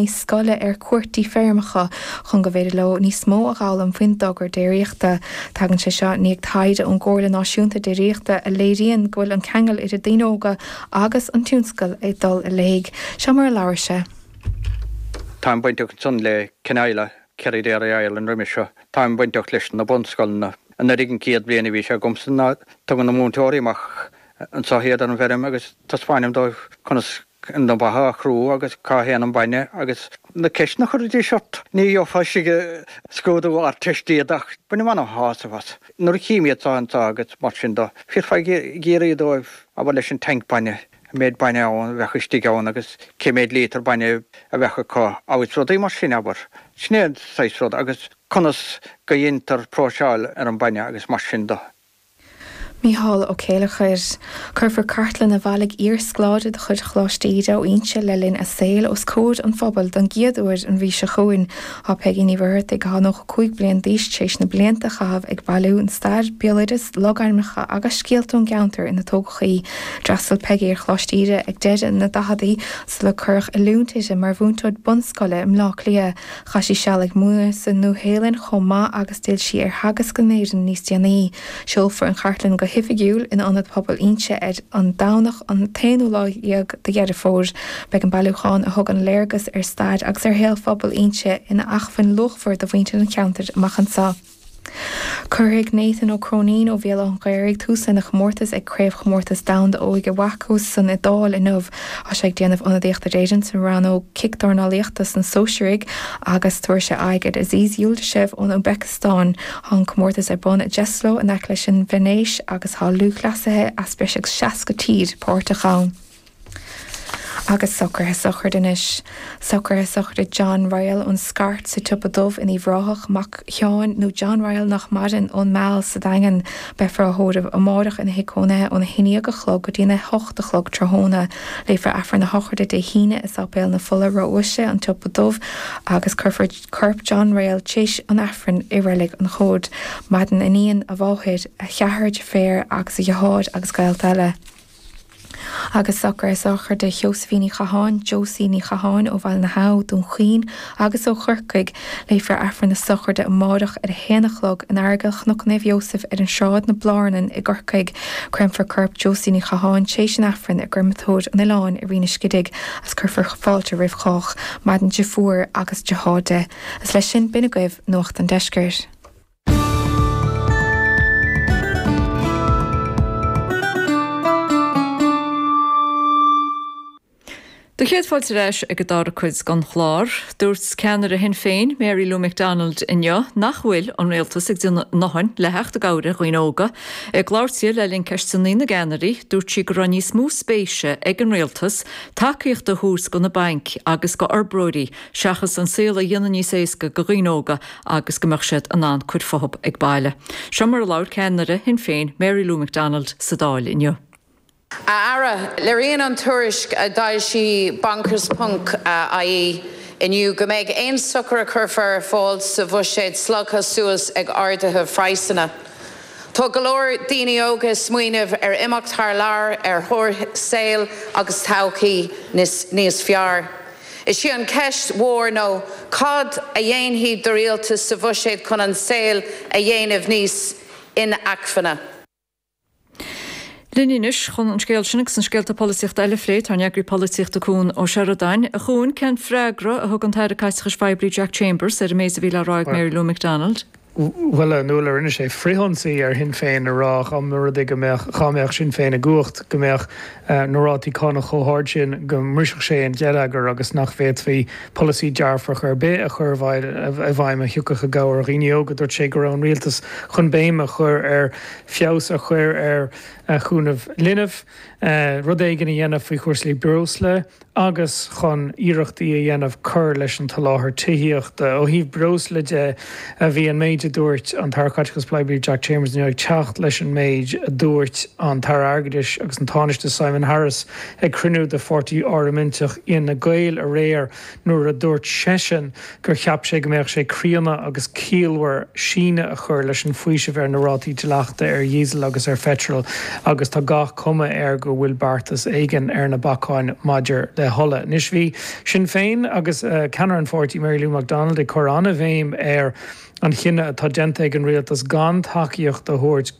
Scoile ar cuairt dtí feirmeacha chun go bhféidir leo níos mó a dh'fhoghlaim faoin dtogra déiríochta. Tagann sé seo i ndiaidh taighde ón gComhairle Náisiúnta Déiríochta a léiríonn go bhfuil an ceangal idir daoine óga agus an tionscal ag dul i léig. Seo mar a labhair sé. Táim bainteach ansan le Canaila, Kerry Dairy Ireland roimis seo. Táim bainteach leis na bunscoileanna. Anuraidh an chéad bhliain a bhí sé agamsa ná tugann na múinteoirí amach anso iad ar an bhfeirm agus taispeáinim dóibh conas na beacha a chrú agus cá théann an bainne agus na ceisteanna a chuiridís ort. Ní gheofá istigh i scrúdú Ardteiste iad ach bainim ana-shásamh as. Nuair a chím iad seo anso agus mar sin do, bheifeá ag iarraidh dóibh abair leis an tank bainne, an méid bainne ann a bheadh istigh ann agus cé méid líotar bainne a bheadh acu agus rudaí mar sin, abair. Sin é an saghas rud agus conas go dheintear próiseáil ar an bainne agus mar sin do. Mícheál Ó Céileachair. Cuirfear cartlann a bhailigh iar-scoláire de chuid Choláiste Íde ó Inse le linn a saoil os comhair an phobail don gcéad uair an mhí seo chugainn. Tá Peigí Ní Mhuircheartaigh, atá 95 bliain d'aois, tar éis na blianta a chaitheamh ag bailiú an stair, béaloideas, logainmneacha agus scéalta ón gceantar ina tógadh í. D'fhreastail Peigí ar Choláiste Íde ag deireadh na daicheadaí sula cuireadh oiliúint uirthi mar mhúinteoir bunscoile i mBleá Cliath. Chaith sí seal ag múineadh sa Nua-Shéalainn chomh maith agus d'fhill sí ar theagasc in Éirinn níos déanaí. Seolfar an chartlann go hoifigiúil in Ionad Pobail Inse ar an Domhnach an t-aonú lá dhéag de Dheireadh Fómhair. Beidh an bailiúchán, a thugann léargas ar stair agus ar shaol phobal Inse, ina acmhainn luachmhar do mhuintir an cheantair amach anseo. Cuirfidh Nathan Ó Cróinín ó Bhéal Átha an Ghaorthaidh tús lena chomórtas ag Craobhchomórtas Domhanda Óige WAKO san Iodáil inniu. Tá sé ag déanamh ionadaíochta d'Éirinn sa rannóg cicdornálaíochta sna sóisearaigh agus tabharfaidh sé aghaidh ar Aziz Yuldashev ón Úisbéiceastáin. Tá an comórtas ar bun i Jesolo in aice leis an Veinéis agus tá lúthchleasaithe as breis agus 60 tír páirteach ann. Agus socruithe sochraide anois. Socruithe sochraide John Ryall ón Scairt sa tSiopa Dubh in Uíbh Ráthach, mac Sheáin nó John Ryall nach maireann, ón Meal sa Daingean. Beifear á thórramh amárach ina thigh cónaithe óna 11 a chlog go dtí an 8 a chlog tráthnóna. Léifear Aifreann na sochraide Dé hAoine i Sáipéal na Fola Ró-Uaisle, An tSiopa Dubh, agus cuirfear corp John Ryall téis an Aifrinn i Reilig an Chóid. Maireann a iníon, a mháthair, a cheathrar deirféar agus a dheartháir agus gaolta eile. Agus socruithe sochraide Sheosaimhín Uí Chatháin, Josie Ní Chatháin ó Bhaile na hAbha, Dún Chaoin agus ó Chorcaigh. Léifear Aifreann na sochraide amárach ar a haon a chlog in Aireagal Chnoc Naomh Iósaef ar an Sráid na Blárnan i gCorcaigh. Créamfar corp Josie Ní Chatháin téis an Aifrinn i gCreamatóir an Oileáin i Rinn an Scidigh agus cuirfear fáilte roimh chách. Maireann deirfiúr agus deartháir di. Agus leis sin b'in agaibh Nuacht an Deiscirt. Do chéad fáilte ar ais ag an dara cuid den chlár. Dúirt ceannaire Shinn Féin, Mary Lou McDonald inniu nach bhfuil an rialtas ag déanamh a ndóthain le theacht i gcabhair ar dhaoine óga. Ag labhairt di le linn Ceisteanna na gCeannairí, dúirt sí go raibh níos mó spéise ag an rialtas tacaíocht a thabhairt do na bainc agus do fhorbróirí seachas an saol a dhéanamh níos éasca do dhaoine óga agus go mbeadh siad in ann cur fúthu ag baile. Seo mar a labhair ceannaire Shinn Féin, Mary Lou McDonald sa Dáil inniu. A Aire, léiríonn an tuairisc a d'fhoilsigh Bankers Ponc ie inniu go mbeidh aon sochar a chuirfear ar fáil sa bhuiséad slogtha suas ag arduithe phraghsanna. Tá go leor daoine óga ag smaoineamh ar imeacht thar lear ar thóir saol agus todhchaí níos fearr. Is í an cheist mhór ná cad a dhéanfaidh do rialtas sa bhuiséad chun an saol a dhéanamh níos inacmhainne? Linn anois chun an scéal sin agus na scéalta polaitíochta eile a phlé tá ár n-eagraí polaitíochta Cuan Ó Seireadáin. A Chuain, cén freagra a thug an tAire Caiteachais Phoiblí Jack Chambers ar an méid a bhí le rá ag Mary Lou McDonald? Bhuel, a Nuala, rinne sé frithionsaí ar Shinn Féin a rá dá mba rud é go mbeadh, dhá mbeadh Sinn Féin i gcumhacht, go mbeadh na rátaí cánach chomh hard sin go mbrisfeadh sé an geilleagar agus nach bhféadfaí polasaí dearfach ar bith a chur i bhfeidhm a thiocfadh i gcabhair ar dhaoine óga. Dúirt sé go raibh an rialtas chun béim a chur ar feabhas a chur ar chúnamh linbh, rud éigin a dhéanamh faoi chúrsaí breosla, agus chun iarrachtaí a dhéanamh cur leis an tsoláthar tithíochta. Ó thaobh breosla de, bhí an méid a. méid a dúirt an tAire Caiteachais Poiblí Jack Chambers inniu ag teacht leis an méid a dúirt an tAire Airgeadais agus an Tánaiste Simon Harris ag cruinniú de pháirtí parlaiminteach Fhine Gael aréir nuair a dúirt seisean gur cheap sé go mbeadh sé críonna agus ciallmhar síneadh a chur leis an bhfaoiseamh ar na rátaí dleachta ar dhíosal agus ar pheitreal agus tá gach cuma air go bhfuil beartas éigin ar na bacáin maidir le hola. Anois bhí Sinn Féin agus ceannaire an pháirtí Mary Lou McDonald ag cur an-bhéim ar an chinneadh atá déanta ag an rialtas gan tacaíocht a thabhairt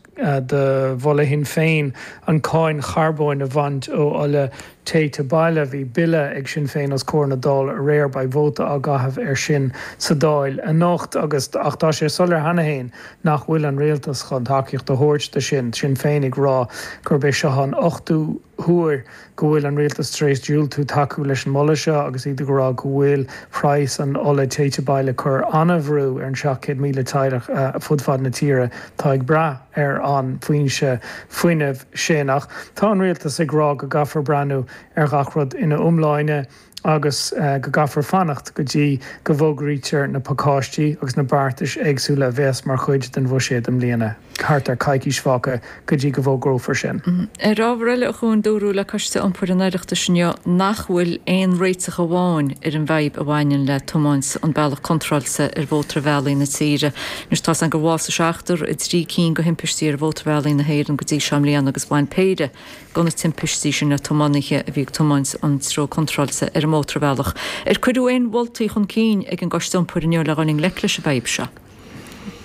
do mholadh Shinn Féin an cáin charbóin a bhaint ó ola téite baile. Bhí bille ag Sinn Féin os comhair na Dála aréir, beidh vóta á gcaitheamh air sin sa Dáil anocht agus ach tá sé soiléir cheana féin nach bhfuil an rialtas chun tacaíocht a thabhairt do sin, Sinn Féin ag rá gurb é seo an ochtú huair go bhfuil an rialtas tar éis diúltú tacú leis an moladh seo agus iad ag rá go bhfuil praghas an ola téite baile ag cur an-bhrú ar an 700,000 teaghlach fud fad na tíre atá ag brath ar an bhfoinse fuinnimh sin. Ach tá an rialtas ag rá go gcaithfear breathnú ar ghach rud ina iomláine agus go gcaithfear fanacht go dtí go bhfógraítear na pacáistí agus na beartais éagsúla a bheas mar chuid den bhuiséad i mbliana. Thart ar coicís fágtha go dtí go bhfógrófar sin. Ar ábhar eile, a Chuain, dúradh le Coiste Iompair an Oireachtais inniu nach bhfuil aon réiteach amháin ar an bhfadhb a bhaineann le tiomáint an bealach contráilte ar mhótarbhealaí na tíre. Anois tá's againn gur bhásaigh seachtar i dtrí cinn de thimpistí ar mhótarbhealaí na hÉireann go dtí seo i mbliana agus bhain péire de na timpistí sin le tiománaithe a bhí ag tiomáint an treo contráilte ar an mótarbhealach. Ar cuireadh aon mholtaí chun cinn ag an gCoiste Iompair inniu le dhul i ngleic leis an bhfadhb seo?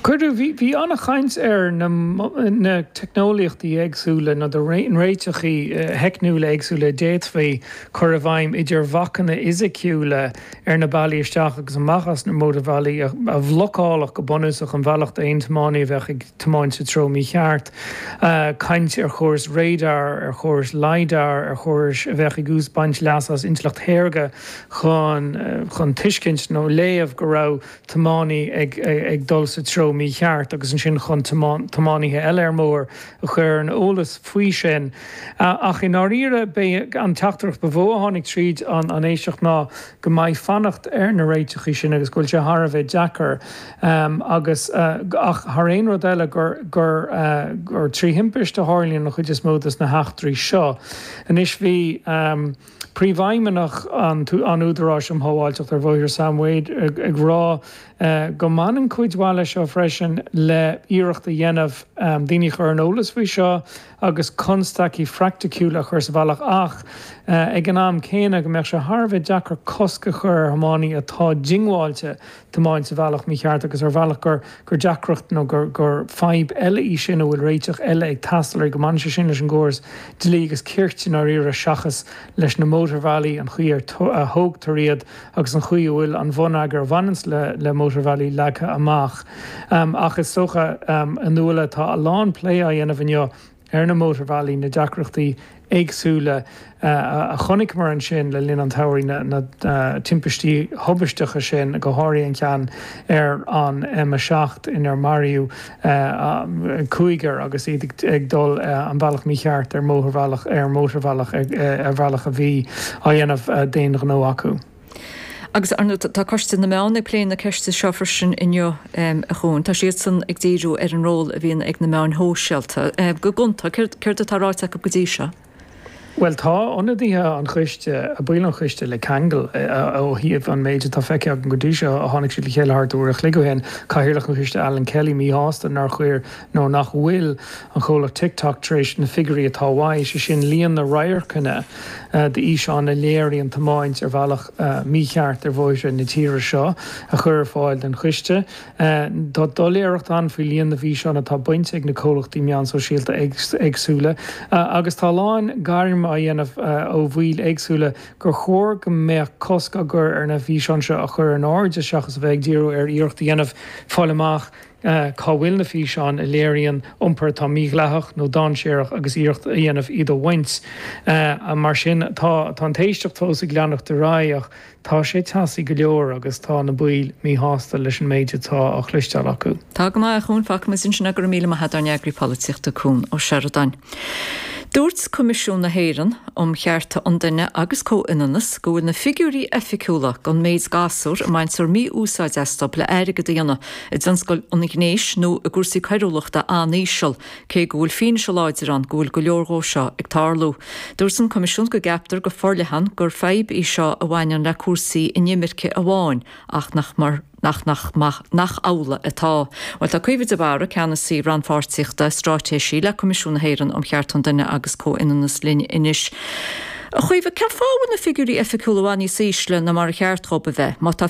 Cuireadh. Bhí, bhí an-chaint ar na, na teicneolaíochtaí éagsúla nó na réiteachaí theicniúla éagsúla a d'fhéadfaí cur i bhfeidhm idir bhacanna fhisiciúla ar na bealaí isteach agus amach as na mótarbhealaí a bhlocálfadh go bunúsach an bealach d'aon tiománaí a bheadh ag tiomáint sa treo mícheart. Caint ar chórais radar, ar chórais lidar, ar chórais a bheadh ag baint leas as intleacht shaorga chun chun tuiscint nó léamh go raibh tiománaí ag dul sa treo mícheart agus ansin chun tiománaithe eile ar an mbóthar a chur ar an eolas faoi sin. Ach i ndáiríre, b'é an teachtaireacht ba mhó a tháinig tríd an éisteacht ná go mbeidh fanacht ar na réiteachaí sin agus go bhfuil sé thar a bheith deacair agus ach thar aon rud eile gur gur gur trí thimpist a tharlaíonn an chuid is mó de na heachtraí seo. Anois bhí. Príomhfheidhmeannach an Údaráis um Shábháilteacht ar Bhóithre, Sam Wade, ag rá go mbaineann cuid mhaith leis seo freisin le iarracht a dhéanamh daoine a chur ar an eolas faoi seo agus constaicí phraiticiúla a chur sa bhealach ach ag an am céanna go mbeadh sé thar a bheith deacair cosc a chur ar thiománaí atá diongbháilte tiomáint sa bhealach mícheart agus ar bhealach gur gur deacracht nó gur gur fadhb eile í sin a bhfuil réiteach eile ag teastáil uirthi, go mbaineann sé sin leis an gcóras dlí agus cirt i ndáiríre seachas leis na mótarbhealaí, an chaoi ar a thógtar iad agus an chaoi a bhfuil an bhonneagar a bhaineanns le le mótarbhealaí leagtha amach. Ach is dócha, a Nuala, tá a lán plé á dhéanamh inniu ar na mótarbhealaí, na deacrachtaí éagsúla a chonaiceamar ansin le linn an tsamhraidh, na timpistí thubaisteacha sin, go háirithe an ceann ar an M7 inar maraíodh cúigear agus iad ag dul an bealach mícheart ar mhótarbhealach, ar mhótarbhealach, ar bhealach a bhí á dhéanamh d'aon ghnó acu. Agus, ar ndóigh, tá Coiste na Meán ag plé na ceiste seo freisin inniu, a Chuain. Tá siadsan ag díriú ar an ról a bhíonn ag na meáin shóisialta. Go gonta, céard atá ráite acu go dtí seo? Bhuel, tá ionadaithe an choiste, baill an choiste le ceangal ó thaobh an méid atá feicthe agam go dtí seo. Tháinig siad le chéile thart uair a chloig ó shin. Cathaoirleach an choiste, Alan Kelly, míshásta nár chuir nó nach bhfuil an chomhlacht TikTok tar éis na figiúirí atá uaidh, sé sin líon na radharcanna d'fhíseáin a léiríonn tiomáint ar bhealach mícheart ar bhóithre na tíre seo, a chur ar fáil don choiste. Tá doiléireacht ann faoi líon na bhfíseán atá bainte ag na comhlachtaí meán sóisialta éagsúla agus tá a lán gairm á dhéanamh ó bhaill éagsúla gur chóir go mbeadh cosc á gcur ar na físeáin seo a chur in airde seachas a bheith ag díriú ar iarracht a dhéanamh fáil amach cá bhfuil na físeáin a léiríonn iompar atá mídhleathach nó dainséarach agus iarracht a dhéanamh iad a bhaint. Mar sin, tá an t-éisteacht fós ag leanacht ar aghaidh ach tá sé teasaí go leor agus tá na baill míshásta leis an méid atá á chloisteáil acu. Tá go maith, a Chuain. Fágfaimid ansin é. Go raibh míle maith agat, ár n-eagraí polaitíochta, Cuan Ó Seireadáin. Dúirt Coimisiún na hÉireann um Chearta an Duine agus Comhionannas go bhfuil na figiúirí oifigiúla don méid gasúr a mbaintear mí-úsáid astu le airgead a dhéanamh i dtionscal an ghnéis nó i gcúrsaí coiriúlachta an-íseal, cé go bhfuil fianaise láidir ann go bhfuil go leor dhó seo ag tarlú. Dúirt an Coimisiún go gceaptar go forleathan gur fadhb í seo a bhaineann le cúrsaí inimirce amháin ach nach mar nach nach nach amhlaidh atá. Bhuel, tá Caoimhe de Barra, Ceannasaí Rannpháirtíochta Straitéisí le Coimisiún na hÉireann um Chearta an Duine agus Comhionannas linn anois. A Chaoimhe, cén fáth a bhfuil na figiúirí oifigiúla i bhfad níos ísle ná mar a cheart dhóibh a bheith, má tá.